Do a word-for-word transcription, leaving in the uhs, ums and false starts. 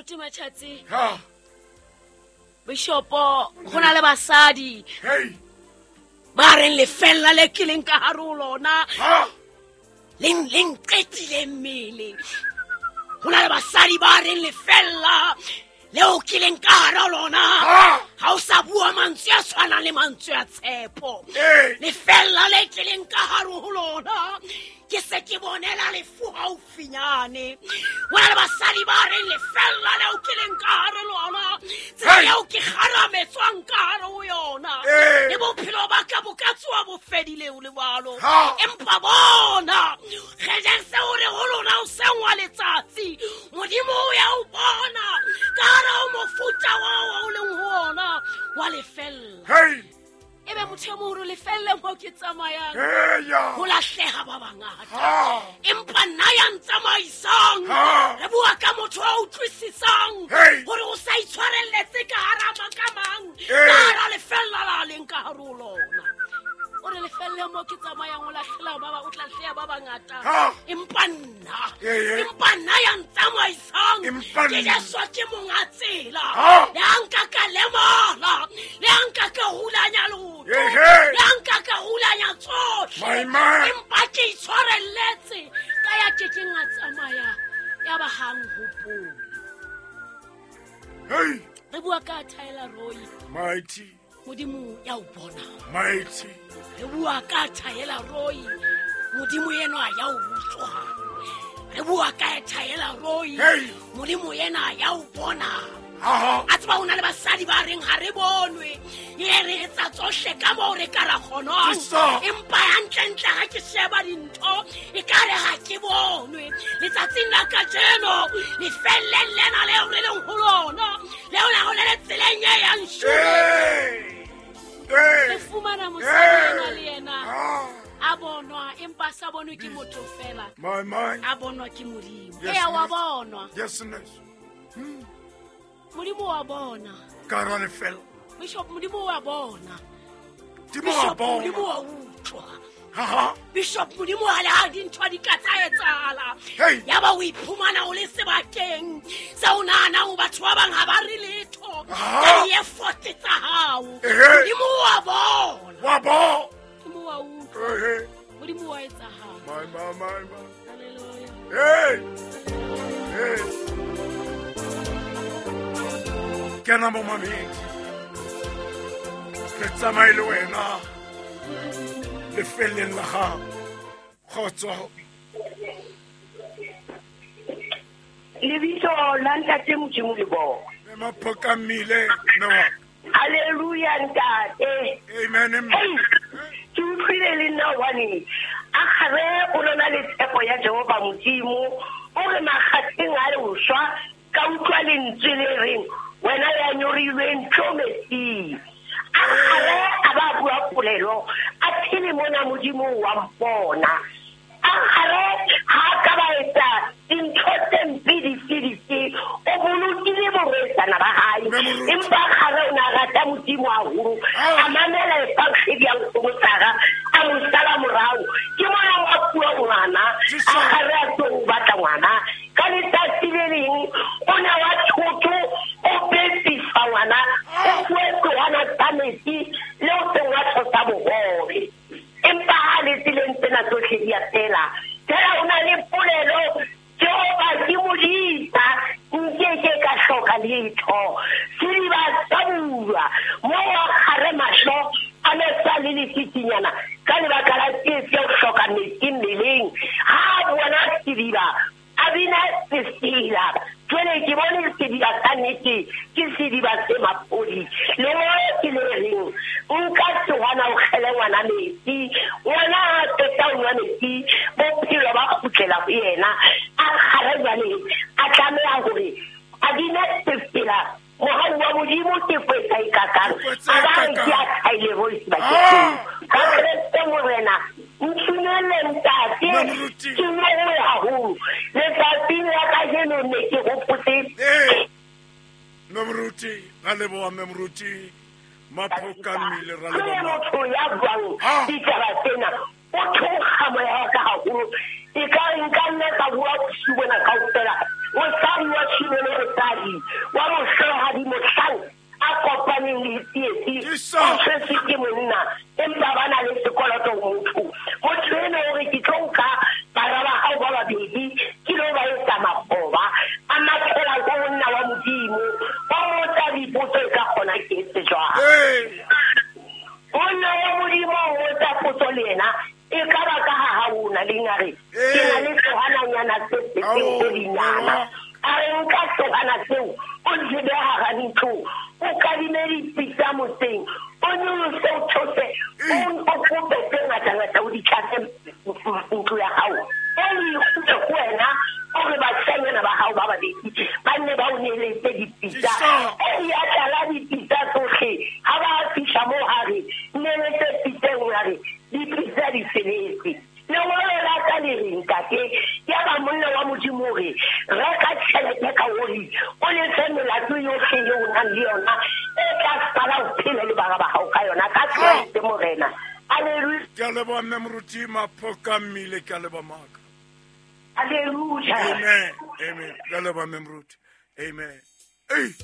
Moruti Machatsi. Ha. Bishopo go na le basadi. Hey. Ba reng lefella le kileng ka hare ho lona. Ha. Leng leng qetile mmele. Ho na le basadi ba reng lefella leo kileng ka hare ho lona. Ha o sa bua mantswe a tshwanang le mantswe a tshepo. Lefella le kileng ka hare ho lona. Ke se ke bonela lefu haufinyane. Ho na le basadi ba reng lefella leo kileng ka hare lona. Tsela eo ke kgarametswang ka hare ho yona. Le bophelo ba ka bo ka tsoha bo fedile ho le jwalo. Empa bona, kgejeng seo re ho lona o sengwa letsatsi. Modimo o ya o bona ka hare ho mofuta wa o leng ho ona wa lefella. Hey. Ebe motho e moholo lefelle mo ke tsamayang. Ho lahleha ba bangata. Empa nna ya ntsamaisang. Re bua ka motho a utlwisisang hore o sa itshwarelletse ka hara makamang. Ka hara lefella la leng ka hare ho lona. O re lefelle mo ke tsamayang o lahlela ba ba o tla hleha ba bangata. Empa nna, empa nna ya ntsamaisang. Ke Jesu ke monga tsela. Le ha nka ka lemala, le ha nka ka hulanya lotho, le ha nka ka hulanya tsohle. Empa ke itshwarelletse ka ya ke ke nga tsamaya ya ba hang hopole. Hey. Re bua ka Tyler Roy. Mighty. Modimo ya o bona. Mighty. Re bua ka Tyler Roy. Modimo yena ya o utlwa. Re bua ka Tyler Roy. Modimo yena ya o bona. A tseba ho na le basadi ba reng ha re bonwe. E re etsa tsohle ka moo re ka ra kgonang. Empa hantlentle ha ke sheba dintho e ka re ha ke bonwe. Letsatsing la kajeno lefelleng lena leo re leng ho lona, leo la ho le tseleng e yang shule. Re fumana mosadi ena le yena a bonwa empa sa bonwe ke motho fela. A bonwa ke Modimo. Eya wa bonwa. Yes, yes. Hmm. Modimo wa bona. Ka ra lefela. Bishop Modimo wa bona. Modimo wa bona. Modimo wa utlwa. Ha ha. Bishop Modimo ha le ha dintho di ka tsa etsahala. Ya ba o iphumana o le sebakeng sa o nahana ho batho ba bang ha ba re letho. Ka di-effort tsa hao. Modimo wa bona. Wa bona. Modimo wa utlwa. Modimo wa etsahala. My my my my. Hallelujah. Hey. Hey. Kena mo mamedi. Re tsamaye le wena lefelleng la gago. Kgotso. Lebitso la Ntate Modimo le bona. Mme Maphoka mmile mme wa ka. Hallelujah ntate. Amen. Ke utlwile le nna hobane a gare o lona le tshepo ya Jehova Modimo o re makgatheng a le swa ka utlwa lentswe le reng wena ya nyorilweng tlo metsing. A gare a ba bua polelo a phele mona Modimo wa mpona. A gare ha ka ba etsa dintho tse mpe dife dife o bolokile borwetsana ba hae. Empa gare o na rata Modimo haholo a mamela efangedi ya nkgono Sara a mo sala morao. Ke mona wa bua ngwana a gare a tlo o batla ngwana ka letsatsi le leng o ne wa thotho o bepisa ngwana o fuwe tlohana tsa metsi le o sengwatho sa bohobe. Empa ha le tseleng tsena tsohle di a fela. Fela o na le polelo Jehova ke modisa nkeke ka hloka letho. Sediba sa bulwa mo wa gare mahlo a ne sa le lefitinyana ka lebaka la tsietsi ya ho hloka metsi mmeleng. Ha bona sediba a bina sesela. Jwale ke bone sediba sa nnete ke sediba se mapodi. Lengolo ke le reng nka sehwana o kgele ngwana metsi. Ngwana ha qeta ho nwa metsi bophelo ba kgutlela ho yena. A kgare jwale a tlameha hore a bine sefela. Mohau wa Modimo ke kwetsa e kakang. A ba re ke a thaile voice bakeng. Ka Kreste Morena ntumelle ntate ke nngwe haholo. Letsatsing la kajeno ne ke hopotse. Mme Moruti, ra leboha Mme Moruti. Maphoka mmile ra leboha. Motho ya buang ditaba tsena o theoha moya wa ka haholo. E ka nka nna ka bua bosiu bona kaofela. Mosadi wa Shimone mosadi mosadi wa mohlohadi mohlang a kopaneng le tsietsi o tshwetswe ke monna empa ba na le sekoloto ho motho. Motho ena o re ke tlo nka bara ba hao ba babedi ke lo ba etsa makgoba a mathela ko monna wa Modimo o motsa dipotso e ka kgona ke etse jwang. Monna wa Modimo o motsa potso le yena e ka ba ka ha ha ona le ngare ke na le tsohananyana se se dinyana a re nka tsohana seo o di beha hara ntlo o kadime dipitsa motseng o nyolose o those o kope tse ngatangata o di tlatse ntlo ya hao o ikgutse ho wena o re bashanyana ba hao ba babedi ba nne ba o neletse dipitsa e ya tlala dipitsa tsohle ha ba fihla moo hare neletse pitsa e nngwe hare dipitsa di feletse. Lengolo la ka le re ntate ya ba monna wa Modimo hore reka tjhelete ka oli o lefe melato yohle eo o nang le yona e tla sala o phele le bara ba hao ka yona ka Kreste Morena. Hallelujah. Ke a leboha mme moruti Maphoka Mmile, ke a leboha maka. Hallelujah. Amen. Amen. Ke a leboha mme moruti. Amen. Ei.